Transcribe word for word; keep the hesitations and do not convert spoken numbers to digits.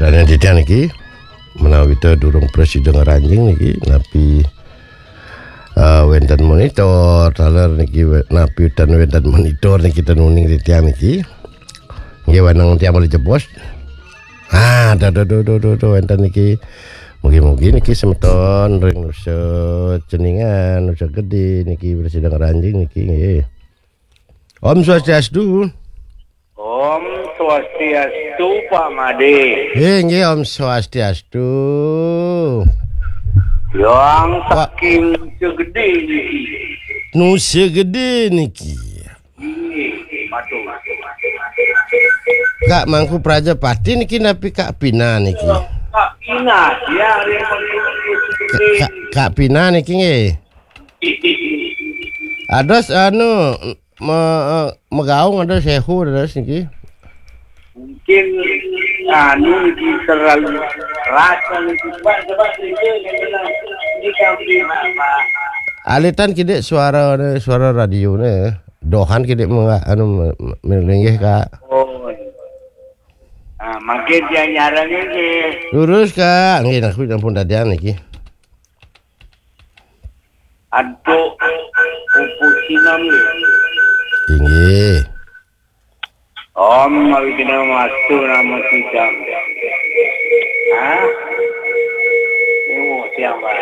Dan yang titiang niki, menawi kita durung prasida ngranjing niki, napi, eh, wenten monitor, taler niki, we-, napi ten wenten monitor niki ten uning titiang niki. Nggih, waneng tiang malih jebos. Ah, tuh, tuh, tuh, tuh, tuh, tuh, wenten niki. Mugi-mugi niki semeton ring Nusa Ceningan, Nusa Gede niki prasida ngranjing niki nggih. Om Swastiastu. Om Swastiastu, Pak Made. Eh, nggih, Om Swastiastu. Yang Pak saking Segede niki. Nusa Gede niki. Nggih, matur. Kak Mangku Prajapati niki napi Kak Pina niki? Kak Pina, ya, yang Kak, Kak, Kak Pina niki nggih. Ados anu me, eh, megaung ados sewu ados niki. Mungkin anu niki terlalu keras niki. Pak, coba sedikit yang bilang. Ini kami apa? Alitan kidik suara, suara radio ne. Dohan kidik menga-, anu me-, me-, melinggih, Kak. Oh. Nah, makin dia nyarang ini. Lurus, Kak. Nggih, nak ampun dadian niki. Antuk pupus sinam nggih. Inggih. Om Awighnam Astu Namo Sidam. Hah? Ini mau siang, Pak.